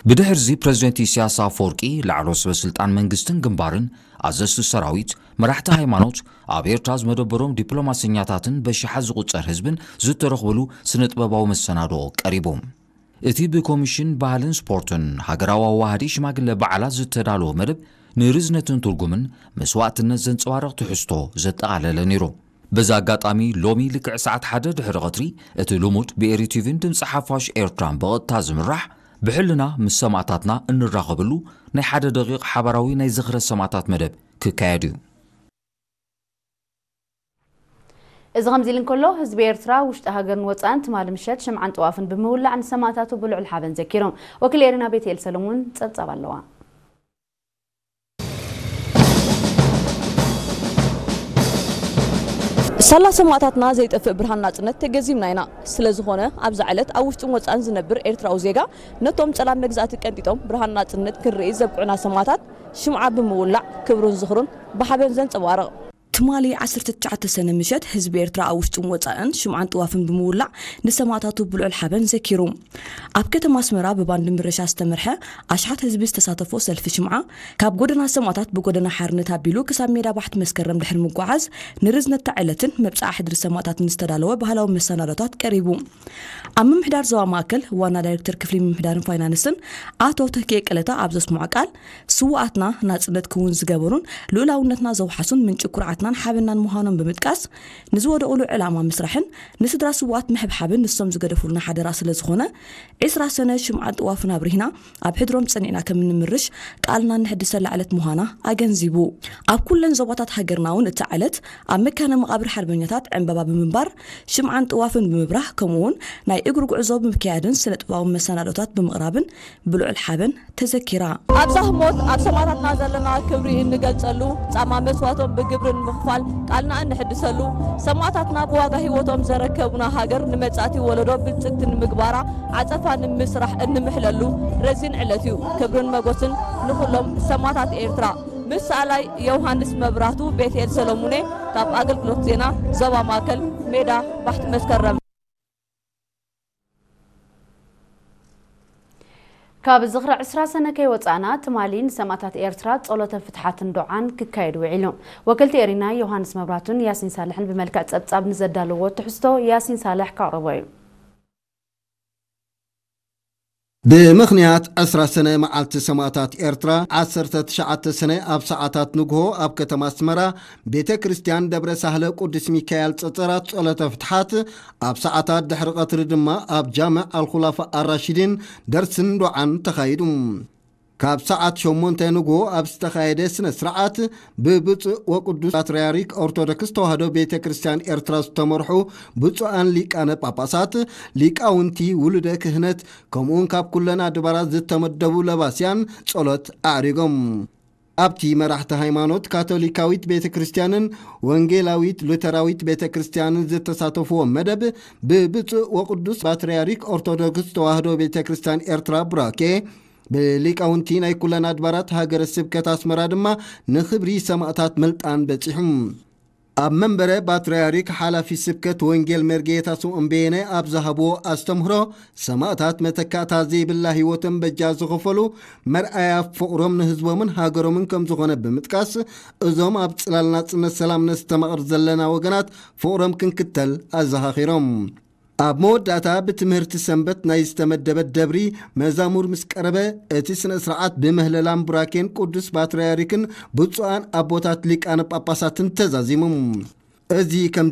ብድሕርዚ ፕረዚደንት ኢሳያስ ኣፈወርቂ፣ ላዕለዎት ሰበ ስልጣን መንግስትን ግንባርን፣ ኣዘዝቲ ሰራዊት፣ መራሕቲ ሃይማኖት፣ ኣብ ኤርትራ ዝመደበሮም ዲፕሎማሰኛታትን በሽሓት ዝቑጸር ህዝብን ዝተረኽብሉ ስነ ጥበባዊ መሰናድኦ ቀሪቡ። እቲ ብኮሚሽን ባህልን ስፖርትን ሃገራዊ ኣዋሃዲ ሽማግለ በዓላት ዝተዳለወ መደብ ንርዝነትን ትርጉምን መስዋእትነት ዘንጸባርቕ ትሕዝቶ ዘጠቓለለ ነይሩ። በዚ ኣጋጣሚ ሎሚ ልክዕ ሰዓት ሓደ ድሕሪ ቐትሪ እቲ ልሙድ ብኤሪ ቲቪን ድምፂ ሓፋሽ ኤርትራን ብቐጥታ ዝምራሕ ብሕልና ምስ ሰማእታትና እንራኸበሉ ናይ ሓደ ደቂቕ ሓባራዊ ናይ ዝኽረ ሰማእታት መደብ ክካየድ እዩ። እዚ ከምዚ ኢሉ እንከሎ፣ ህዝቢ ኤርትራ ውሽጢ ሃገርን ወጻእን ትማሊ ምሸት ሽምዓን ጥዋፍን ብምውላዕ ንሰማእታቱ ብልዑል ሓበን ዘኪሮም። ወኪል ኤሪና ቤትኤል ሰለሙን ጸብጻብ ኣለዋ። ሳላ ሰማእታትና ዘይጠፍእ ብርሃን ናጽነት ተገዚምና ኢና። ስለ ዝኾነ፣ ኣብዛ ዕለት ኣብ ውሽጥን ወጻእን ዝነብር ኤርትራዊ ዜጋ ነቶም ጸላም መግዛእቲ ቀንጢጦም ብርሃን ናጽነት ክንርኢ ዘብቅዑና ሰማእታት ሽምዓ ብምውላዕ ክብሩን ዝኽሩን ብሓበን ዘንጸባርቕ። ትማሊ ዓሰርተ ትሽዓተ ሰነ ምሸት ህዝቢ ኤርትራ ኣብ ውሽጥን ወጻእን ሽምዓን ጥዋፍን ብምውላዕ ንሰማእታቱ ብልዑል ሓበን ዘኪሩ። ኣብ ከተማ ኣስመራ ብባንድ ምርሻ ዝተመርሐ ኣሽሓት ህዝቢ ዝተሳተፎ ሰልፊ ሽምዓ ካብ ጎደና ሰማእታት ብጎደና ሓርነት ኣቢሉ ክሳብ ሜዳ ባሕቲ መስከረም ድሕሪ ምጓዓዝ ንርዝነት እታ ዕለትን መብጽዓ ሕድሪ ሰማእታትን ዝተዳለወ ባህላዊ መሰናዶታት ቀሪቡ። ኣብ ምምሕዳር ዞባ ማእከል ዋና ዳይሬክተር ክፍሊ ምምሕዳርን ፋይናንስን ኣቶ ተኪኤ ቀለታ ኣብ ዘስምዖ ቃል፣ ስውኣትና ናጽነት ክውን ዝገበሩን ልኡላውነትና ዘውሓሱን ምንጪ ኩርዓትናን ሓበናን ምዃኖም ብምጥቃስ፣ ንዝወደቑሉ ዕላማ ምስራሕን ንስድራ ስውኣት ምሕብሓብን ንሶም ዝገደፉልና ሓደራ ስለ ዝኾነ፣ ዕስራ ሰነ ሽምዓን ጥዋፍን ኣብሪህና ኣብ ሕድሮም ጸኒዕና ከም እንምርሽ ቃልና እንሕድሰላ ዕለት ምዃና ኣገንዚቡ። ኣብ ኩለን ዞባታት ሃገርና እውን እታ ዕለት ኣብ መካነ መቓብር ሓርበኛታት ዕምባባ ብምንባር፣ ሽምዓን ጥዋፍን ብምብራህ፣ ከምኡ እውን ናይ እግሪ ጉዕዞ ብምክያድን ስነ ጥበባዊ መሰናዶታት ብምቕራብን ብልዑል ሓበን ተዘኪራ። ኣብዛ ህሞት ኣብ ሰማእታትና ዘለና ክብሪ እንገልጸሉ፣ ጻማ መስዋእቶም ብግብሪ ንምኽፋል ቃልና እንሕድሰሉ፣ ሰማእታትና ብዋጋ ህይወቶም ዘረከቡና ሃገር ንመጻእቲ ወለዶ ብልጽግቲ ንምግባራ ዓጸፋ ንምስራሕ እንምሕለሉ ረዚን ዕለት እዩ። ክብርን መጎስን ንኹሎም ሰማእታት ኤርትራ። ምስ ሰኣላይ ዮሃንስ መብራህቱ፣ ቤትኤል ሰሎሙኔ፣ ካብ ኣገልግሎት ዜና ዞባ ማእከል፣ ሜዳ ባሕቲ መስከረም። ካብ ዝኽሪ ዕስራ ሰነ ከይወጻእና፣ ትማሊ ንሰማእታት ኤርትራ ጸሎተ ፍትሓትን ዱዓን ክካየድ ውዒሉ። ወከልቲ ኤሪና ዮሃንስ መብራህቱን ያሲን ሳልሕን ብመልክዕ ጸብጻብ ንዘዳለዎ ትሕዝቶ ያሲን ሳልሕ ከቕርቦ እዩ። ብምኽንያት ዕስራ ሰነ መዓልቲ ሰማእታት ኤርትራ፣ ዓሰርተ ትሽዓተ ሰነ ኣብ ሰዓታት ንግሆ ኣብ ከተማ ኣስመራ ቤተ ክርስቲያን ደብረ ሳህለ ቅዱስ ሚካኤል ጸጸራት ጸሎተ ፍትሓት፣ ኣብ ሰዓታት ድሕሪ ቀትሪ ድማ ኣብ ጃምዕ ኣልኹላፋ ኣራሺዲን ደርስን ዱዓን ተኻይዱ። ካብ ሰዓት ሸሞንተ ንግሆ ኣብ ዝተኻየደ ስነ ስርዓት፣ ብብፁዕ ወቅዱስ ፓትርያርክ ኦርቶዶክስ ተዋህዶ ቤተ ክርስቲያን ኤርትራ ዝተመርሑ ብፁዓን ሊቃነ ጳጳሳት፣ ሊቃውንቲ፣ ውሉደ ክህነት፣ ከምኡውን ካብ ኩለን ኣድባራት ዝተመደቡ ለባስያን ጸሎት ኣዕሪጎም። ኣብቲ መራሕቲ ሃይማኖት ካቶሊካዊት ቤተ ክርስቲያንን ወንጌላዊት ሉተራዊት ቤተ ክርስቲያንን ዝተሳተፍዎ መደብ፣ ብብፁዕ ወቅዱስ ፓትርያርክ ኦርቶዶክስ ተዋህዶ ቤተ ክርስቲያን ኤርትራ ቡራኬ፣ ብሊቃውንቲ ናይ ኩለን ኣድባራት ሃገረ ስብከት ኣስመራ ድማ ንኽብሪ ሰማእታት ምልጣን በጺሑ። ኣብ መንበረ ፓትርያርክ ሓላፊ ስብከት ወንጌል መርጌታ ስምዖን በየነ ኣብ ዝሃብዎ ኣስተምህሮ፣ ሰማእታት መተካእታ ዘይብላ ህይወቶም በጃ ዝኸፈሉ መርኣያ ፍቕሮም ንህዝቦምን ሃገሮምን ከም ዝኾነ ብምጥቃስ፣ እዞም ኣብ ጽላል ናጽነት ሰላም ነስተማቕር ዘለና ወገናት ፍቕሮም ክንክተል ኣዘኻኺሮም። ኣብ መወዳእታ ብትምህርቲ ሰንበት ናይ ዝተመደበት ደብሪ መዛሙር ምስ ቀረበ፣ እቲ ስነ ስርዓት ብምህለላን ቡራኬን ቅዱስ ፓትርያርክን ብፁዓን ኣቦታት ሊቃነ ጳጳሳትን ተዛዚሙ። እዚ ከምዚ